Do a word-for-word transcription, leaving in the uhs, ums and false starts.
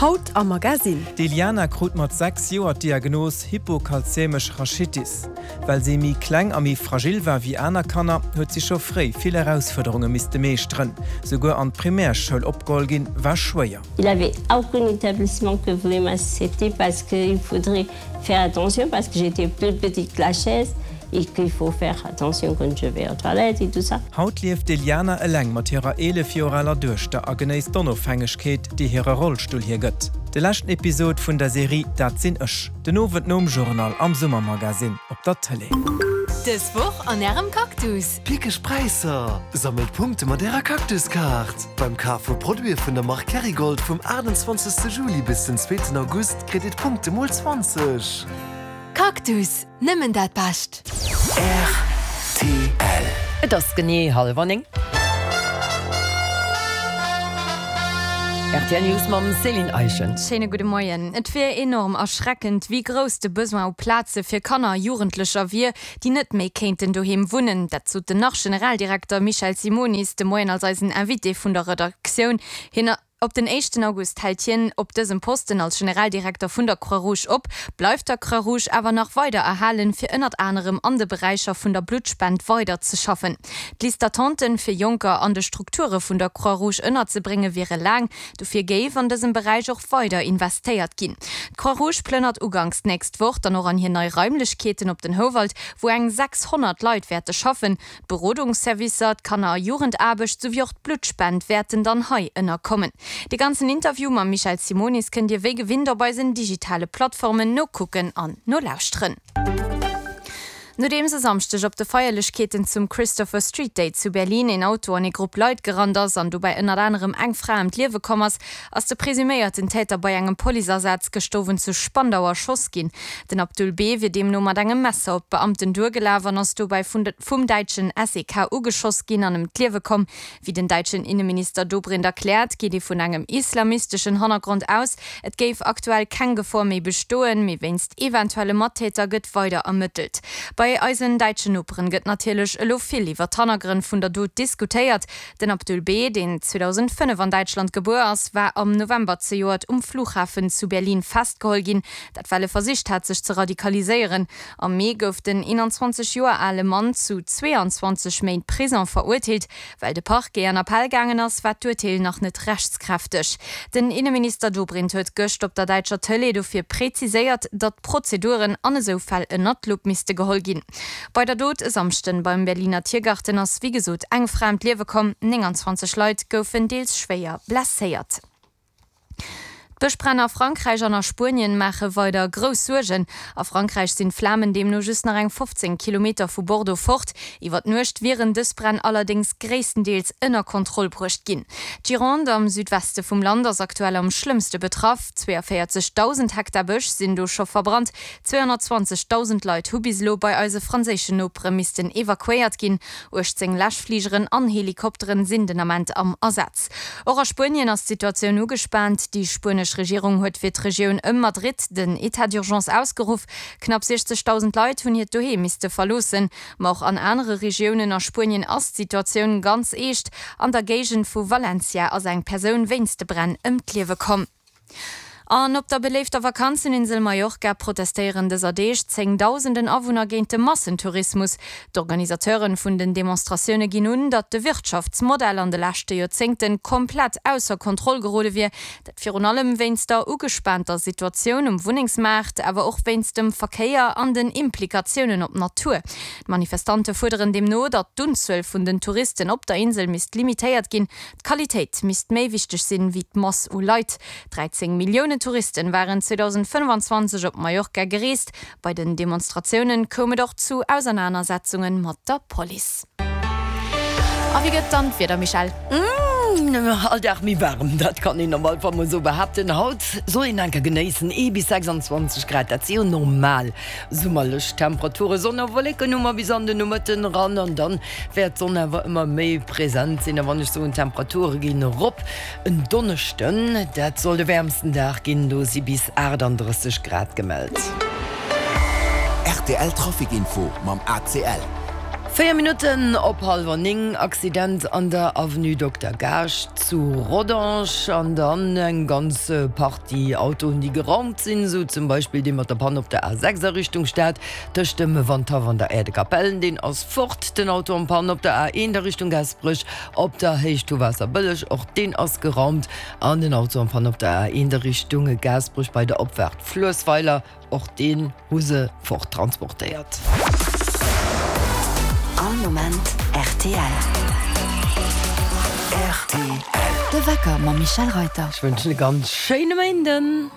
Haut am Magasinn. D'Eliana krut mat sechs Joer d'Diagnos hypokalzämesch Rachitis. Well si méi kleng a méi fragil war wéi aner Kanner, huet si scho fréi vill Erausfuerderunge misste meeschteren. Souguer an d'Primärschoul opgeholl ginn, war schwéier. Il avait aucun établissement que voulait m'accepter parce qu'il faudrait faire attention parce que j'étais plus petite que la chaise et qu'il faut faire attention quand je vais aux toilettes et tout ça. Haut lieft d'Eliana eleng mat hirer eelef Joer aler Duechter a genéisst d'Onofhängegkeet, déi hire Rollstull hir gëtt. De leschten Episod vun der Serie Dat sinn ech, den Owend nom Journal am Summermagasinn op der Tëlee. Dës Woch an Ärem Cactus. Pickeg Präisser! Sammelt Punkte mat Ärer Cactus-Kaart! Beim Kaf vu Produite vun der Mark Kerrygold vum aachtundzwanzegste Juli bis den zweeten August kritt Dir d'Punkte mol zwanzeg. Cactus, nëmmen dat Bescht! Rtl. Et ass genee hallwer néng. Rtl News mam Céline Eischen. Schéine gudde Moien. Et wier enorm erschreckend, wéi grouss de Besoin u Plaze fir Kanner a Jugendlecher wier, déi net méi kéinten doheem wunnen. Dat sot den Nach-Generaldirekter Michel Simonis de Moien als eisen Invité vun der Redaktioun. Hien Op den éischten August hält hien op dësem Posten als Generaldirekter vun der Croix-Rouge op, bleift der Croix-Rouge awer nach weider erhalen, fir ënnert anerem an de Beräicher vun der Bluttspend weider ze schaffen. D'Liste d'attenten, fir Jonker an de Strukture vun der Croix-Rouge ënnerzebrénge wiere laang, dofir géif an dësem Beräich och weider investéiert ginn. D'Croix-Rouge plënnert uganks d'nächst Woch dann och an hir nei Raimlechkeeten op den Houwald, wou eng sechshonnert Leit wäerte schaffen. D'Berodungsservicer, d'Kanner a Jugendaarbecht souwéi och d'Bluttspend wäerten dann hei ënnerkommen. De ganzen Interview mam Michel Simonis kënnt Dir wéi gewinnt op eisen digitale Plattformen nokucken an nolauschteren. Nodeems e Samschdeg op de Feierlechkeeten zum Christopher Street Day zu Berlin een Auto an ee Grupp Leit gerannt ass an dobäi ënnert anerem eng Fra ëm d'Liewe komm ass, ass de presuméierten Täter bei engem Policeasaz gëscht Owend zu Spandau erschoss ginn. Den Abdul B. wier deemno mat engem Messer op d'Beamten duergelaf an ass dobäi vum däitschen S E K ugeschoss ginn an ëm d'Liewe komm. Wéi den däitschen Inneminister Dobrindt erkläert, geet ee vun engem islamisteschen Hannergrond aus. Et géif aktuell keng Gefor méi bestoen, mee wéinst eventuelle Mattäter gëtt weider ermëttelt. Bei eisen däitschen Noperen gëtt natierlech elo vill iwwer d'Hannergrënn vun der Dot diskutéiert. Den Abdul B., deen zweedausendfënnef an Däitschland gebuer ass, war am November zejoert um Flughafen zu Berlin festgeholl ginn, dat well e versicht hat sech ze radikaliséieren. Am Mee gouf den eenanzwanzeg Joer ale Mann zu zweeanzwanzeg Méint Prison verurteelt. Well de Parquet an Appell gaangen ass, war d'Urteel nach net rechtskräfteg. Den Inneminister Dobrindt huet gëscht op der däitscher Tëlee dofir preziséiert, datt d'Prozeduren an esou Fäll ënnert d'Lupp misste geholl ginn. Bei der Dot e Samschden beim Berliner Tiergarten ass wéi gesot eng Fra ëm d'Liewe komm, nénganzwanzeg Leit goufen deels schwéier blesséiert. D'Bëschbränn a Frankräich an a Spuenien maache weider grouss Suergen. A Frankräich sinn d'Flamen deemno just nach eng fofzéng Kilometer vu Bordeaux fort. Iwwer d'Nuecht wieren dës Bränn allerdéngs gréisstendeels ënner Kontroll bruecht ginn. D'Gironde am Südweste vum Land ass aktuell am schlëmmste betraff. Zweeënvéierzegdausend Hektar Bësch sinn do scho verbrannt. Zweehonnertzwanzegdausend Leit hu bis elo bei eise franséischen Nopere missten evakuéiert ginn. uechtzéng Läschfligeren an Helikopteren sinn den Ament am Asaz. Och a Spuenien ass d'Situatioun ugespaant. Déi spuenesch Regierung huet fir d'Regioun ëm Madrid den Etat d'urgence ausgeruff. Knapp siechzegdausend Leit hunn hiert Doheem misste verloossen. Ma och an anere Regiounen a Spuenien ass d'Situatioun ganz eescht. An der Géigend vu Valencia ass eng Persoun wéinst de Bränn ëm d'Liewe komm. An op der beléifter Vakanzeninsel Mallorca protestéieren dëser Deeg zéngdausenden Awunner géint de Massentourismus. D'Organisateure vun den Demonstratioune ginn un, datt de Wirtschaftsmodell an de leschte Joerzéngte komplett ausser Kontroll gerode wier. Dat virun allem wéinst der ugespaanter Situatioun um Wunnengsmaart, awer och wéinst dem Verkéier an den Implikatiounen op d'Natur. D'Manifestante fuerderen deemno, datt d'Unzuel vun den Touristen op der Insel misst limitéiert ginn. D'Qualitéit misst méi wichteg sinn, wéi d'Mass u Leit. dräizéng Milliounen Touristen waren zweedausendfënnfanzwanzeg op Mallorca gereest. Bei den Demonstratiounen koum et och zu Ausernanersetzunge mat der Police. A wéi gëtt dann d'Wieder, Michèle? All Dag méi waarem, dat kann een op alle Fall mol esou behaapten. Haut soll een enker genéissen, ee bis sechsandzwanzeg Grad, dat si jo normal summerlech Temperaturen. Sonn a Wolleken hu mer bis an den Nomëtten eran an dann wäert d'Sonn awer ëmmer méi present sinn. A wann ech soen, d'Temperature ginn erop, en Donneschden, dat soll de wäermsten Dag ginn, do si bis achtandrësseg Grad gemellt. Rtl Trafic Info mam A C L. Véier Minutten op hallwer néng, Accident an der Avenue Dokter Gaasch zu Rodange an dann eng ganz Partie Autoen, déi geraumt sinn, esou zum Beispill dee mat der Panne op der A sechs a Richtung Stad tëscht dem Wandhaff an der Aire de Capellen, deen ass fort. Den Auto en panne op der A eent a Richtung Gaasperech op der Héicht vu Waasserbëlleg, och deen ass geraumt. An den Auto en panne op der A eent a Richtung Gaasperech bei der Opfaart Fluessweiler, och deen hu se fort transportéiert. All Moment rtl. Rtl. De Wecker mam Michèle Reuter. Ech wënschen e ganz schéine Méinden.